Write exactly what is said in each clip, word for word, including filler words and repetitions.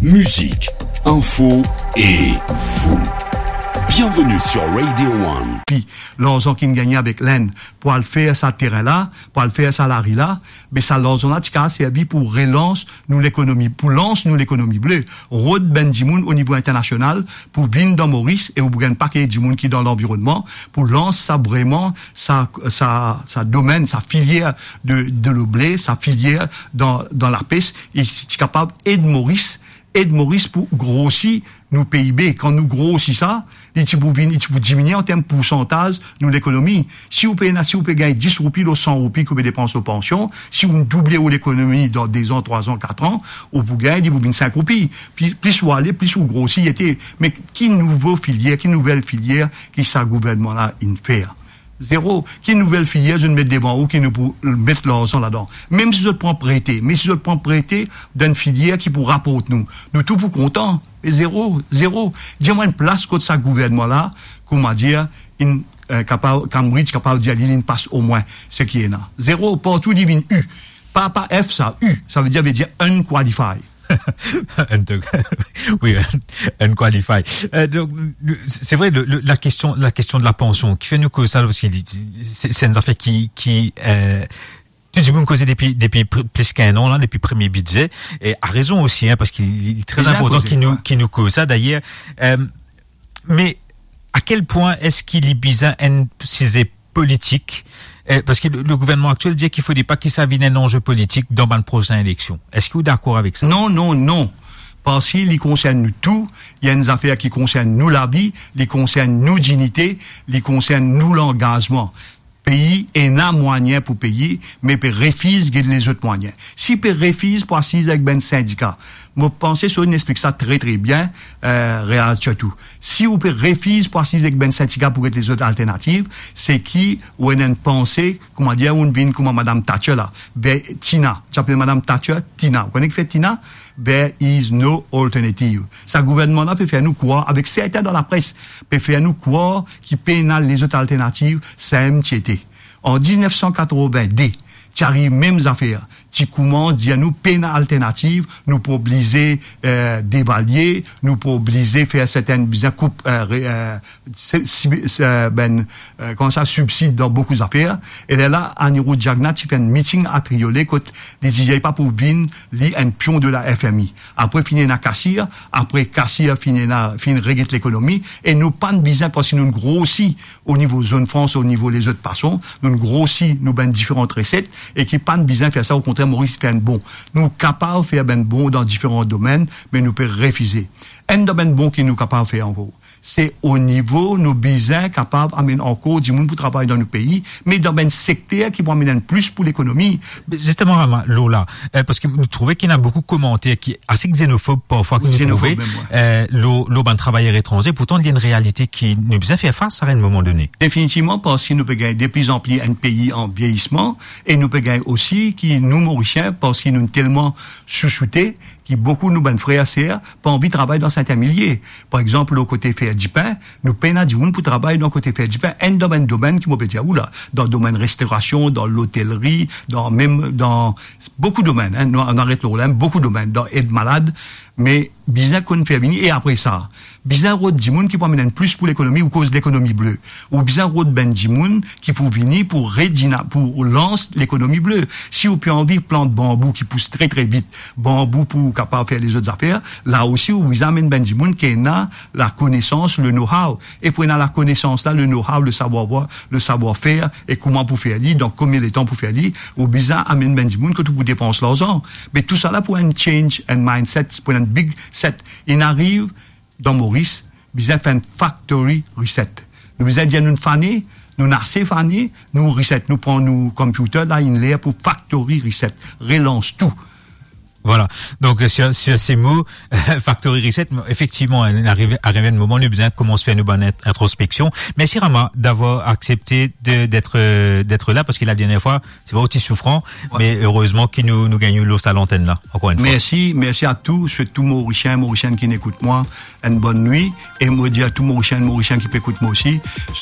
Musique, info et vous. Bienvenue sur Radio One. Pi larzan ki'nn gagne avek Lenn pou al fer sa terin la, pou al fer sa lari la, me sa larzan la ti kapav servi pou relans nou lekonomi, pou lans nou lekonomi ble, rod bann dimoun o nivo internasional pou vinn dan Moris, e ou pou gagn pake dimoun ki dan lanvironnman, pou lans sa vreman, sa, sa, sa domenn, sa filier de, de lo ble, sa filier dan, dan lapes, e ti kapav ed Moris, ed Moris pou grosi nou P I B. Kan nou grosi sa, li ti pou vinn, li ti pou diminie an term poursantaz nou lekonomi. Si ou pe ena, si ou pe gagn dis roupi lor san roupi ki ou pe depans lor pansion, si ou double ou lekonomi dan de zan, trwa zan, kat an, ou pou gagn, li pou vinn sink roupi. Pli, plis ou ale, plis ou grosi, ete. Me ki nouvo filier, ki nouvel filier ki sa gouvernman la inn fer? Zero. Ki nouvel filier zot met devan ou ki nou pou met larzan ladan? Mem si zot pran prete, me si zot pran prete dan enn filier ki pou raport nou, nou tou pou kontan. E zero, zero. Dir mwa enn plas kot sa gouvernman la, kouma dir, inn, eh, kapav, Cambridge kapav dir li, li inn pas omwin seki ena. Zero, partou li vinn U. Pa, pa F sa, U, sa vedir, vedir unqualified. Un, wi, un, unqualified. Euh, donc, c'est vrai, le, le, la question, la question de la pension, ki fer nou koz sa, parski li, se, se enn zafer ki, ki, euh, tou dimoun koze depi, depi pr-, plis ki enn an la, depi premie bidze, e a rezon osi, hein, parski li, li tre inportan ki nou, ki nou koz sa, dayer. Euh, me a kel pwin eski li bizin enn size politik, eh, parski le, le gouvernman aktiel dir ki fodre pa ki sa vinn enn anze politik dan bann prosin eleksion. Eski ou dakor avek sa? Non, non, non. Parski li konsern nou tou, li enn zafer ki konsern nou lavi, li konsern nou dignite, li konsern nou langazman. Pei ena mwayin pou peye, me pe refiz get lezot mwayin. Si pe refiz pou asiz avek bann sindika, mo panse so inn explik sa tre, tre bien, eh, Reaz sirtou. Si ou pe refiz pou asiz ek bann sindika pou get lezot alternativ, se ki ou ena enn panse, kouma dir, ou vinn kouma Madam Thatcher la, be Tina, ti apel Madam Thatcher Tina. Ou kone ki fer Tina? There is no alternative. Sa gouvernman la pe fer nou krwar, avek sertin dan lapres, pe fer nou krwar ki pena lezot alternativ, samem ti ete. An diznef san katrovin-de, ti ariv mem zafer. Ti koumans dir nou pena alternativ, nou pou oblize, eh, devalie, nou pou oblize fer sertin bizin koup, eh, re-, eh, se, si, se, eh, bann, eh, kouma sa, sibsid dan boukou zafer. E lerla, Anirudh Jagannath ti fer enn meeting atriole kot li dir li pa pou vinn li enn pion de la F M I. Apre finn ena kasir, apre kasir finn ena, finn reget lekonomi, e nou pa'nn bizin, parski nou'nn grosi o nivo Zone Franche, o nivo lezot fason, nou'nn grosi nou bann diferan reset, e ki pa'nn bizin fer sa, okontrer, Moris fer enn bon. Nou kapav fer bann bon dan diferan domenn, me nou pe refize. Enn dan bann bon ki nou kapav fer ankor, se o nivo nou bizin kapav amenn ankor dimoun pou travay dan nou pei, me dan bann sekter ki pou amenn enn plis pou lekonomi. Zisteman, Rama, lor la, eh, parski nou trouve ki ena boukou komanter ki ase xenofob parfwa ki nou trouve, eh, lor, lor bann travayer etranze, pourtan li enn realite ki nou bizin fer fas a enn moman done. Definitivman, parski nou pe gagn deplizanpli enn pei an vieyisman, e nou pe gagn osi ki nou Morisien, parski nou telman sousoute, ki boukou nou bann frer, ser, pa anvi travay dan sertin milie. Par exanp, lor kote fer dipin, nou pena dimoun pou travay dan kote fer dipin. Enn dan bann domenn ki mo pe dir ou la, dan domenn restorasion, dan lotelri, dan mem, dan boukou domenn, hein, nou, nou aret lor la, boukou domenn, dan ed malad, me bizin konn fer vini, e apre sa, bizin rod dimoun ki pou amenn enn plis pou lekonomi, ou koz lekonomi ble. Ou bizin rod bann dimoun ki pou vini pou redina-, pou lans lekonomi ble. Si ou pe anvi plant banbou ki pous tre, tre vit, banbou pou kapav fer lezot zafer, la osi ou bizin amenn bann dimoun ki ena lakonesans, le know-how. E pou ena lakonesans la, le know-how, le savoir-faire, le savoir-faire, e kouma pou fer li, dan konbien letan pou fer li, ou bizin amenn bann dimoun kot ou pou depans larzan. Me tousala pou enn change, enn mindset, pou enn big set. Inn ariv dan Moris, bizin fer enn factory reset. Nou bizin dir nou fane, nou ase fane, nou reset, nou pran nou computer la, inn ler pou factory reset, relans tou. Voilà. Donc, euh, sur, sur ces mots, factory reset, effectivement, hein, arrive, arrive un moment, nou bizin koumans fer nou bann int-, introspection. Merci Rama d'avoir accepté de, d'être, euh, d'être là, parski la dernière fois, se vre, ou ti soufran, ouais, me erezman ki nou, nou gagn ou lor sa lantenn la, ankor enn fwa. Mersi, mersi a tou, sirtou Morisien, Morisienn ki ekout mwa, enn bonn nwi, e mo dir a tou Morisien, Morisienn ki pe ekout mwa osi,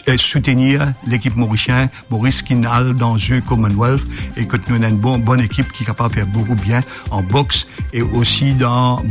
eh, soutenir lekip Morisien, Moris ki al dan Jeux Commonwealth, e kot nou ena enn bon, bonn ekip ki kapav fer boukou bien an boks, e osi dan